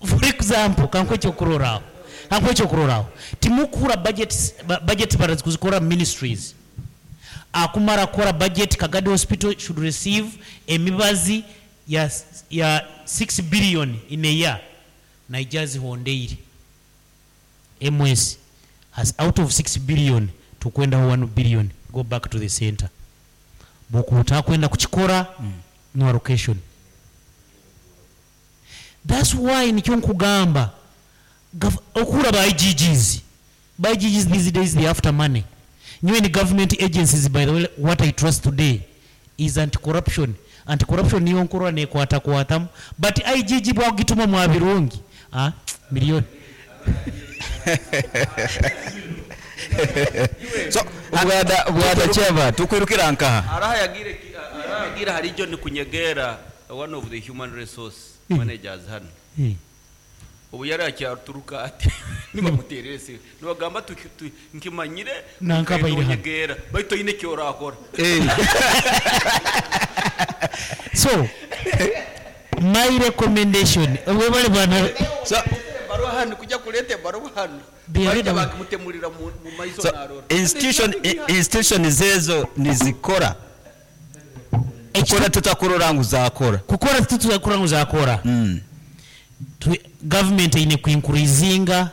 for example, kankwe ekyokuroraaho kankwe ekyokuroraaho timukura budget, budget barazikuzikora ministries akumara kukora budget. Kagadi Hospital should receive emibazi ya, ya six billion in a year. Naija zihondeire M S has out of six billion tukwendaho one billion, go back to the center. Bokuta kwenda kukikora mm. No allocation. That's why nikyo nkugamba okura ba I G Gs, ba I G Gs these days, they after money. Nyiwe ni government agencies. By the way, what I trust today is anti-corruption. Anti-corruption niyo nkurwa nekwata kwatamu, but I G G bwagituma mwa birungi, ah, milioni. So bwada bwada chairman, tukwirukira nkaha? Araha yagire ki- araha yagira hari John Kunyegera, one of the human resource managers hano. Eh. Ubu yari akyaturuka ati nibamuterere se nibagamba tuki- tu- nkimanyire. Nanka baire hano. Kunyegera baitu oyine kyorakora. So my recommendation, webale bwana. So Baruwa hano kujya kuleta ebaruwa hano. They bajya read bakimutemurira mu mu maiso so narora. institution institution zezo nizikora kukora tutakurora ngu zakora. Kukora tutuzakora ngu zakora. Mm. Tu- government eine kuincreasinga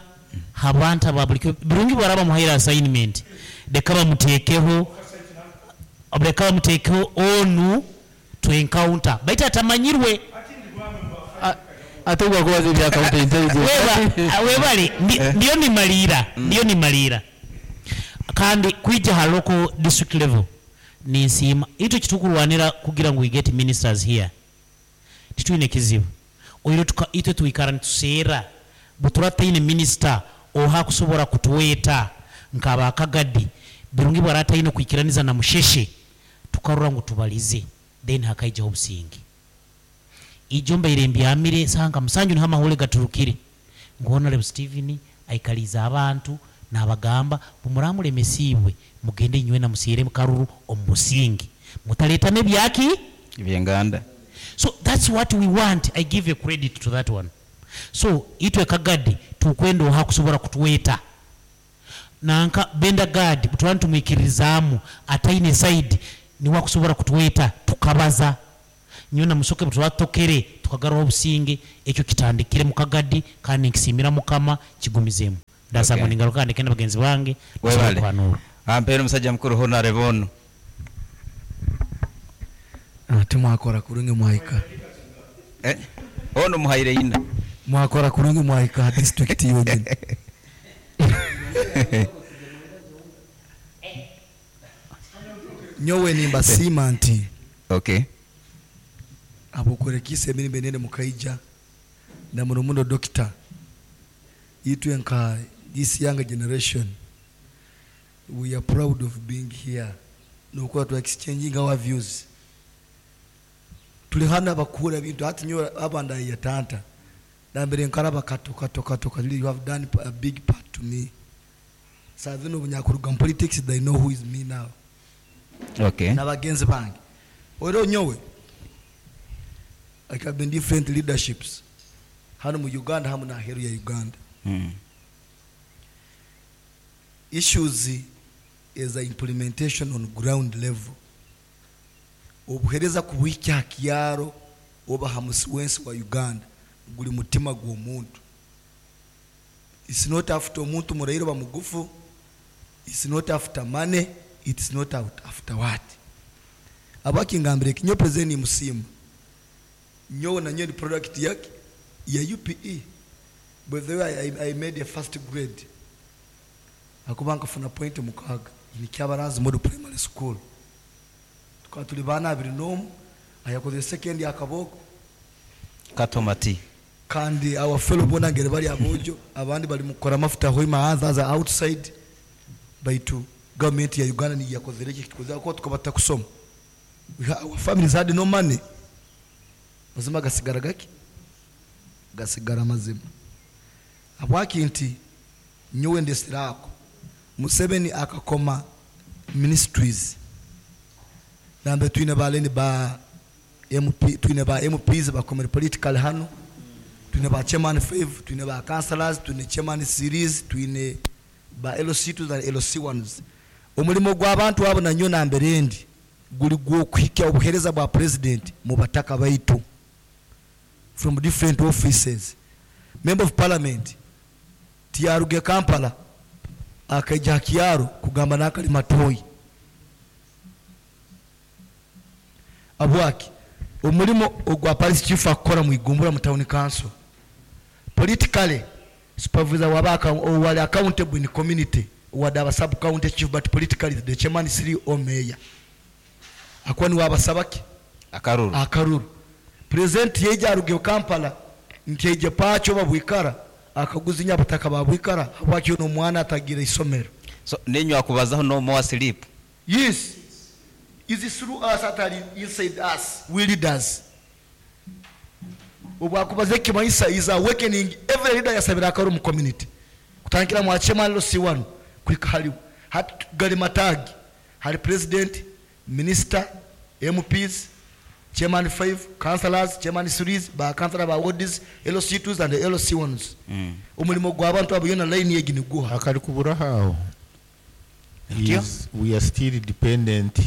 abantu aba bulikyo birungi bwaraba muhaire assignment, leka bamuteekeho leka bamuteekeho onu to encounter baitu atamanyirwe. Ate gwakubaza ebya counter intelligence. Weba webale, ndi- ndiyo nimaliira ndiyo nimaliira kandi kwija ha local district level ninsiima itwe kitukurwanira kugira ngu we get ministers here. Titwine kizibu oiro tuka- itwe twikara nituseera butura taine minister oha kusobora kutuweta nkaba akagadi birungi bwarataine kwikiraniza na Musheshe tukarora ngu tubalize, then hakaijaho obusingi. Ijo mbaire mbyamire sanga musanju niho amahule gaturukire ngu Honorable Stephen aikaliza abantu nabagamba bumuramuremesiibwe mugende inywe na musiire mukaruru omu busingi mutaletamo ebyaki ebyenganda. So that's what we want. I give a credit to that one. So itwe Kagadi tukwenda oha kusobora kutuweta nanka Benda Gad butwani tumwikirizaamu ataine side. Niwe akusobora kutweta tukabaza. Nyowe na Musoke twatokere tukagarura obusinge, ekyo kitandikire mu Kagadi, kandi nkisimira Mukama kigumizemu. Ndasaba Okay. ningaruka ndeke na bagenzi bange Webale. kwanura. Ampere omusajja mukuru Honorable ono. Ah, timwakora kurungi mwahika. Eh? Ono muhaire ina. Mwakora kurungi mwahika district yonyine. Nyowe nimbasiima nti Okay. abokurekisa emirimo enene mukaija na muno muno doctor itwe nka this younger generation, we are proud of being here nokuba tu exchanging our views. Tuli hano abakura bintu hati nyowe abanda yatanta nambere nkaraba kato kato kato kato, you have done a big part to me. Savino bunyakuruga mu politics, they know who is me now. Okay. N'abagenzi bange oro nyowe I have been different leaderships hano mu Uganda hamu na heru ya Uganda. Mm. Issues is a implementation on ground level. Obuhereza kubuhikya kyaro oba hamusi wensi wa Uganda guli mutima gw'omuntu. It's not after omuntu murairo ba mugufu, it's not after money, it's not out after what. Abakingambire kinyo president musimu nyowe na nyowe ni product yake ya U P E. By the way, I, I made a first grade akuba nkafuna point mukaga ni Kyabarazi Model Primary School. Tukaba tuli bana abiri n'omu ayakoze second akaboko. Katomati. Kandi our fellow bona ngere bali abojo abandi bali mukora mafuta hoima aza outside baitu government ya Uganda ni yakozere iki kitukoze ko tukabata kusoma. We ha, our families had no money. Mazima gasigara gaki gasigara mazima abwaki nti nyowe ndesirako Museveni akakoma ministries nambe twine baleni ba M P, twine ba M Ps bakomere political hano, twine ba chairman five, twine ba councillors, twine chairman series, twine ba L C two na L C ones. Omulimo gw'abantu abo nanyo nambere ndi guli gw'okuhikya obuhereza bwa president mu bataka baitu from different offices. Member of parliament tiyaruge Kampala akaija kyaro kugamba nakali matoyi abwaki omulimo ogwa parish chief akora mu Igumbura mu town council. Politically supervisor wabaka wali accountable in community wadaba sub county chief, but politically the chairman three or mayor akuwa ni wabasabaki akaruru akaruru. President yeja aruge Kampala nti eje pacho babwikara akaguzinya butaka babwikara habwaki ono mwana atagira isomero. So ninywa kubazaho no more sleep. Yes, is through us atari inside us, we leaders. Obwakubaza ekimanyisa is awakening every leader yasabira akaru mu community kutandikira mu chairman L C one kwika haliwo hati gali matagi hari president, minister, M Ps, chairman five, councillors, chairman series, ba councillor ba wards, L C twos and L C ones. Mm. Omulimo gw'abantu abo yona line yegi niguha. Akali kubura aho Atyo? is we are still dependent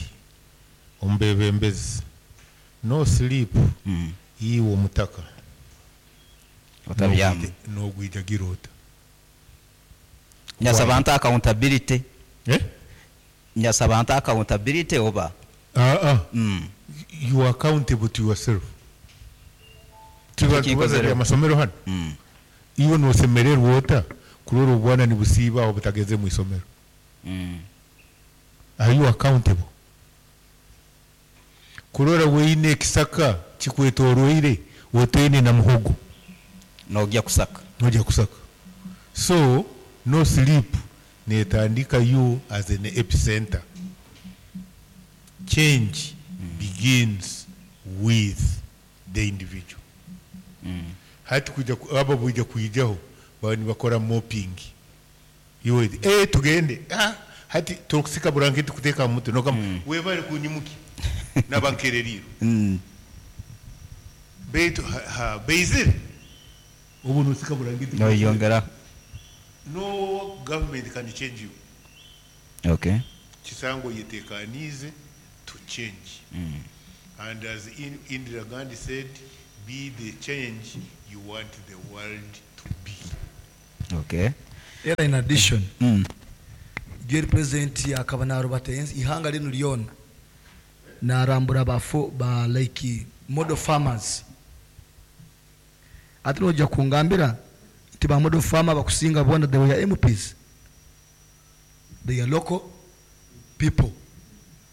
on bebembezi. No sleep. Mm. Iwe omutaka otabyama nogwija girota. Nyasaba nta accountability. Eh? Nyasaba nta accountability oba? Ah ah. Mm. You are accountable to yourself. Kiki Tuba nkozere? Amasomero hano Mm. iwe nosemererwa ota kurora obwana nibusiiba aho butageze mu isomero? Mm. Are you accountable kurora weine ekisaka kikwetoroire oteine na muhogo? Nogya kusaka. Nojya kusaka. So no sleep netandika you as an epicenter. Change begins with the individual. Mm. Hati kuja ku- abo bwija kwijaho baba nibakora mopping iwe eh tugende ah hati tokusika buranketi kuteeka mu mutwe nokama mm. Webale kunyimuki nabankereriro. Mm. Beitu ha, ha beizire ubu nusika burangiti. Noyongera. No government can change you. Okay. Kisango yetekanize. to change. And as In- Indira Gandhi said, be the change you want the world to be. Okay. Era in addition, Mm. gyeri president akaba narubata ensi ihanga linu lyona narambura bafo ba like model farmers. Ate nojja kungambira nti ba model farmer bakusinga bona, they were M Ps, they are local people.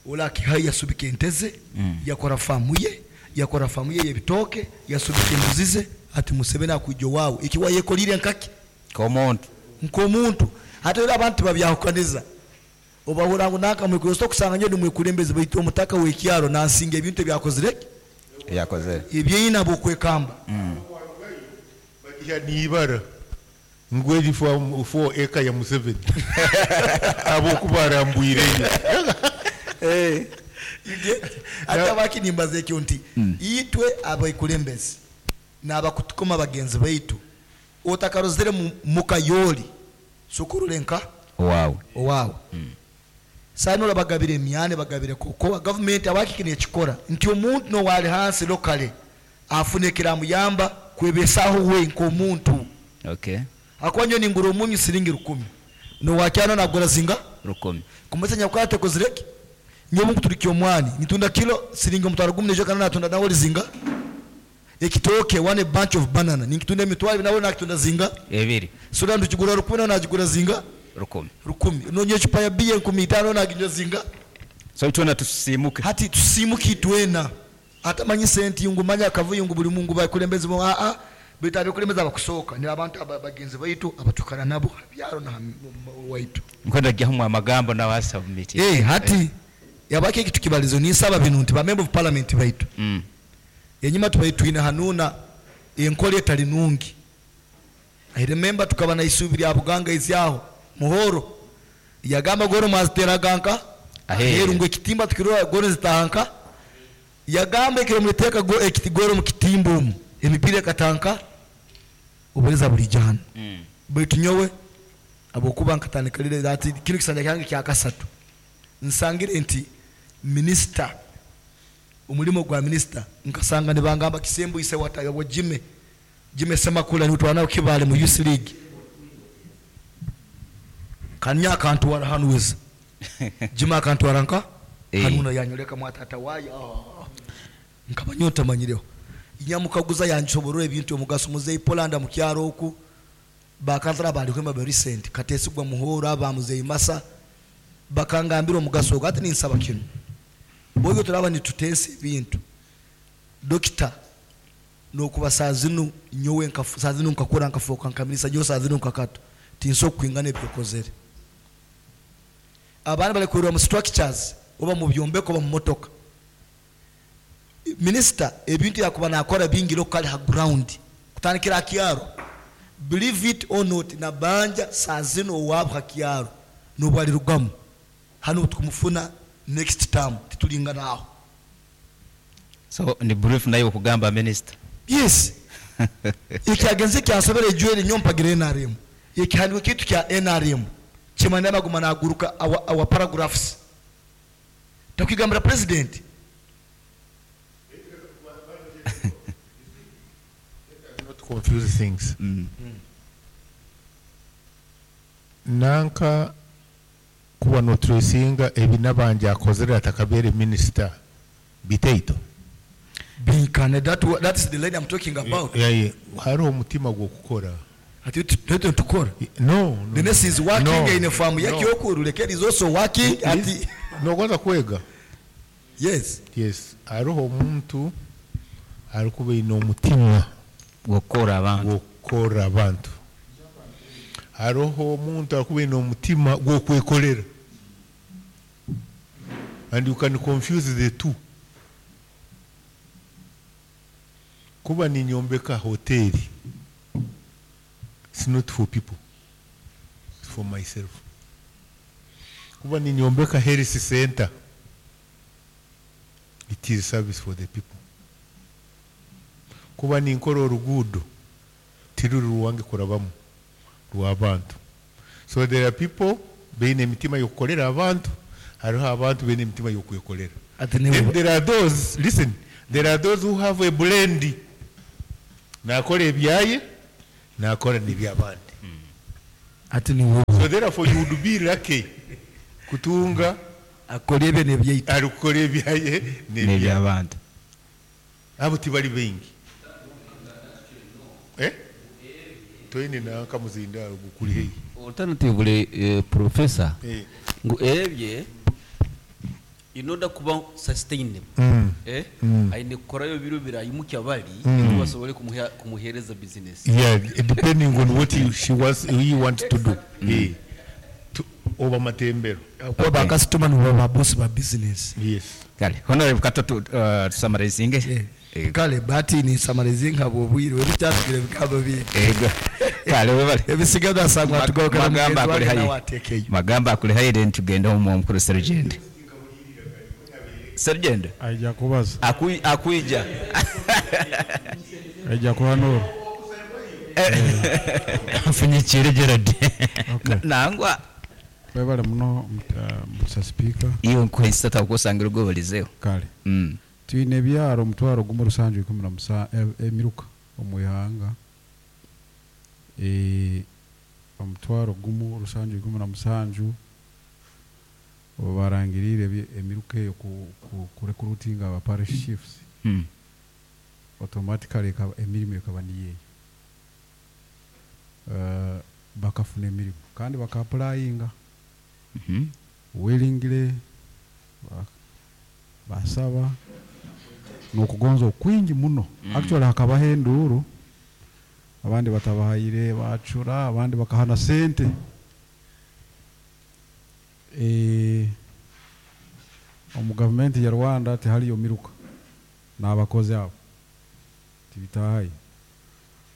Ola akihai yasubika ente ze, Mm. yakora famu ye yakora famu ye yebitooke, yasubika embuzi ze. Ati Museveni akwijja owaawe ekiwa yekolire nkaki? Nk'omuntu. Nk'omuntu. Ate era abantu babyahukaniza, obahura ngu nakamwikulosa okusanga nyo nimwekulembeze baitu omutaka w'ekyaro nansinga ebintu ebyakozire. Yakozere. Ebyeyina bwokwekamba. Bagiha niibara ngu eri four four acre ya Museveni abokuba arambwireyo. You get? Ate abakinimbaza ekyo nti itwe abakulembeze n'abakutukoma bagenzi baitu otakarozere mu- mukayoli sokorole nka Owaawe. Owaawe. Saani olabagabira emyane, bagabire kokowa gavumenti abakiki nekikora nti omuntu nowali hansi lokale afuna ekiramuyamba kwebesaho we nk'omuntu. Okay. Akuba nyo ningura omunyu siringi rukumi, nowakyano nagura zinga? Rukumi. Kumesa nyakwate kozireki nyobu nkuturikya omwani nitunda kilo siringi omutwaro gumu, nejo kana natunda nawe lizinga. Ekitooke, one bunch of banana, ninkitunda emitwaro ibiri, nawe nakitunda zinga? Ebiri. Sura ntukigura rukumi, nawe nagigura zinga? Rukumi. Rukumi. Nonye ecupa ya biya enkumi itaano, naginywa zinga? So itwena tusimuke. Hati tusimuke itwena. Atamanyi senti ngu manya akavuyo ngu buli mungu bakulembeze bo aa baitu abekulembeze abakusooka ni abantu aba- bagenzi baitu abatukana nabo byaro na waitu. Nkwenda gyamu amagambo nawasubmit. Eh, hati yabaki ekitu kibalizo ninsaba binu nti ba member of parliament baitu, Mm. enyuma tubaire twine hanuuna enkola etali nungi. I remember tukaba na isubi lya Buganga izyaho muhoro yagamba goro mwaziteraga nka Aheeru. aheeru ngu ekitimba tukirora goro zitahanka. Yagamba ekiro muliteeka go- ekiti goro mu kitimba omu emipiira ekatanka obuheza buli jana. Mm. Baitu nyowe abwokuba nkatandika ati kino kisanja kyange kyakasatu nsangire nti minisita omulimo gwa minisita nkasanga nibangamba kisembo ise watayabwa jime jime Semakula nitwala nawe Kibale mu youth league kanya akantwara hanuweza jime akantwara nka Eh. hanuna yanyoleka mwatata wayo. Ah. Nkaba nyo ntamanyireho nyamukaguza yansoborora ebintu omugaso muzeyi Polanda mukyaro oku bakansala balihwema ba recent katesigwa muhoro aba muzeyi masa bakangambira omugaso ogwo. Ati ninsaba kino bwoyo turaba nitutensa ebintu dokita nokuba saa zinu nyowe nkafu- saa zinu nkakura nkafuuka nkamirisa nyowe saa zinu nkakato tinso kwingana ebyokozere abaana bali mu structures oba mu byombeko oba mu motoka. Minisita ebintu yakuba nakora bingi lokali ha ground kutandikira hakyaro. Believe it or not, nabanja saa zino owaabo hakyaro nobwalirugamu hano tukumufuna next term titulinganaho. So ni brief nayo okugamba minister. Yes, ekyagenze kyansobera ejweri nyo mpagira N R M ekihandiko kitu kya N R M kimanya maguma naguruka our, our paragraphs takwigambira president. Not confuse things. Nanka kuba notracinga ebinabanja akozere atakabere minisita biteito. Binkane that, that is the line I'm talking about. Yeah, hariho omutima gw'okukora. Ati twete tukora. No, no. The nurse is working No, in a farm no. yakyokuru lekeri is also working ati Nogonza kwega. Yes. Yes, hariho omuntu arikuba aine omutima Gukora abantu. gw'okukora abantu, hariho omuntu arikuba aine omutima gw'okwekolera, and you can confuse the two. Kuba ninyombeka hoteli, it's not for people, it's for myself. Kuba ninyombeka health center, it is service for the people. Kuba ninkora oruguudo tiruri rwange kurabamu, rw'abantu. So there are people beine emitima y'okukolera abantu, hariho abantu beine emitima y'okwekolera. Ati niwe Then there are those, listen, there are those who have a blend. Nakora ebyaye, nakora n'ebyabandi. Ati niwe So therefore you would be lucky kutunga akora ebye nebyaitu. Ari kukora ebyaye n'ebyabandi. N'ebyabandi. Abo tibali baingi. Eh? Toine nanka muzindaro gukuri heyi. Alternatively, eh, professor, Eh. ngu ebye in order kuba sustainable, Mm. eh Mm. aine kukorayo biro birayimukya bali Mm. basobole kumuha kumuhereza business. Yeah, depending on what he, she wants, he wants to do. Eh. To, oba matembero. Kuba ba customer nibo ba boss ba business. Yes. Kale honorable kato tu uh, tusummarizinge. Yeah. Eh, Kale bati ni summarizinga nkabwo obwire ebikyatugire bikaba bingi. Ego kale webale. Ebisigadde asangwa Mag- tugokera magamba mugenzi akuli wange hayi. nawe ateekeyo. Magamba akuli hayi then tugende omu omukuru serugendo. Serugendo Aija kubaza. Akui, akwija. Aija kuhanura. Mfunyikire Gerard. Okay. Nangwa Webale muno Mister Speaker. Iyo nkuhisa takusangira ogobalizeho. Kale. Mm. Twine ebyaro omutwaro gumu rusanju ikumi na musa emiruka omu ihanga. Eh, omutwaro gumu rusanju ikumi na musanju obarangirire emiruka eyo ku, ku, ku recruiting aba parish chiefs. Mm. Automatically ekaba, emirimu ekaba niyeyo. Uh, bakafuna emirimu kandi baka-applyinga. Mm -hmm. Willingly basaba nokugonza okwingi muno. Mm. Actually hakabaho enduuru, abandi batabahayire bacura, abandi bakahana sente. Eh, omu gavumenti ya Rwanda tihariyo miruka n'abakozi abo tibitahaye.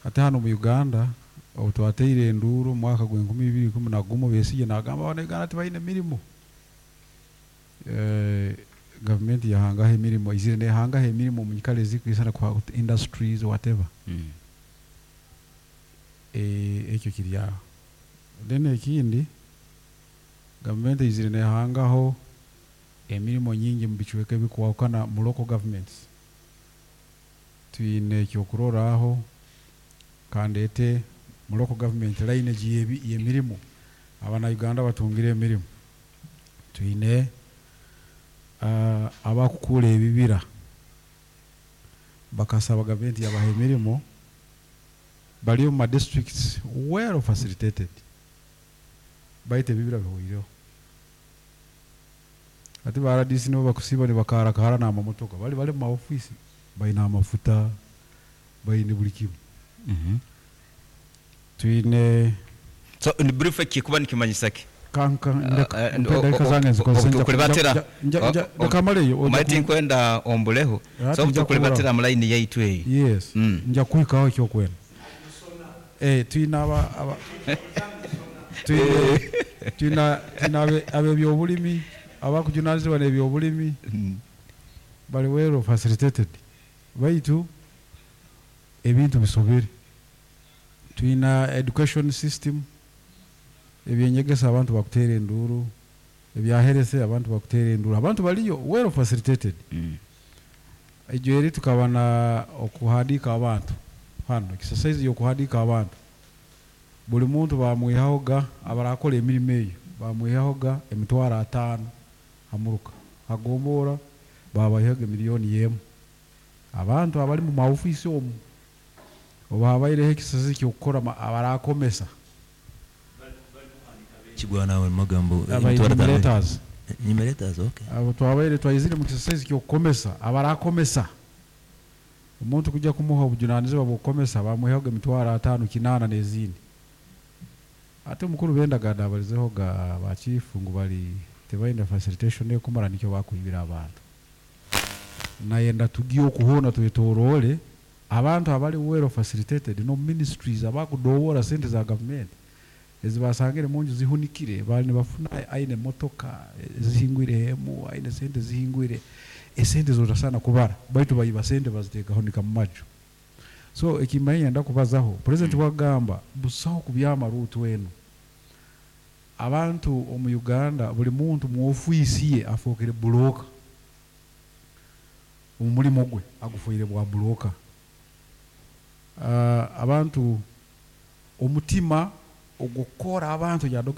Ate hano mu Uganda obu twateire enduuru mu mwaka gw'enkumi ibiri ikumi na gumu, Besigye nagamba abana Uganda tibaine mirimo. Eh, gavumenti yahangaho emirimo, izire nehangaho emirimo mu nyikara ezikwisana kwa industries whatever. Mm. Eh, ekyo kiri aho. Then ekindi, gavumenti izire nehangaho emirimo nyingi mu bicweka ebikwahukana mu local governments. Twine ekyokuroraho kandi ete mu local government lineage y'emirimo abana Uganda batungire emirimo. Twine uh, abakukura ebibira bakasaba gavumenti yabaha emirimo, bali omu ma districts well facilitated, baitu ebibira bihoireho. Ate ba R D C nibo bakusiba nibakarakara n'amamotoka, bali bali mu maofisi baine amafuta baine buli kimu. Mm-hmm. Twine so in brief kikuba nikimanyisa ki? Kanka Uh, ndeka ndeka zange nzikoze nja kulibatira nja nja ndakamareyo omaiti nkwenda ombuleho so tukulibatira mu line yaitu eyi. Yes. Mm. Nja kuikaho ekyo kwenda. Eh, twina aba aba twine twina twina abe abebyobulimi abakujunanizibwa n'ebyobulimi bali well facilitated, baitu ebintu bisobere. Twina education system ebyenyegesa abantu bakutera enduuru, ebyaherese abantu bakutera enduuru, abantu baliyo well facilitated. Mm. Ejo eri tukaba na okuhandika abantu hano exercise yokuhandika abantu, buli muntu bamwihahoga abarakora emirimo eyo bamwihahoga emitwaro ataano hamuruka hagombora babahihaga miliyoni yemu. Abantu abali mu maofisi omu oba habaireho exercise kyokukora abarakomesa Kigwana we magambo Aba enumerators. Enumerators, okay. Abo twabaire twayizire mu exercise kyokukomesa abarakomesa omuntu kujja kumuha obujunanizibwa bw'okukomesa bamuhaga emitwaro ataano kinaana n'ezindi. Ate omukuru bendagada abalizeho ga ba chief ngu bali tebaine facilitation ekumara nikyo bakwibira abantu. Nayenda tugiye okuhona twetoroole abantu abali well facilitated no ministries abakudowora sente za government ezibasangire munju zihunikire bali nibafuna aine motoka zihingwire hemu aine sente zihingwire esente zotasana kubara baitu bayiba sente baziteka honika mu maju. So ekimanya ndakubazaho president mm. wagamba busaho kubyama rutu wenu abantu omu Uganda buli muntu mu ofisi ye afokere block. Omu mulimo gwe agufuire bwa broker. uh, abantu omutima ogukora abantu ya Dokita.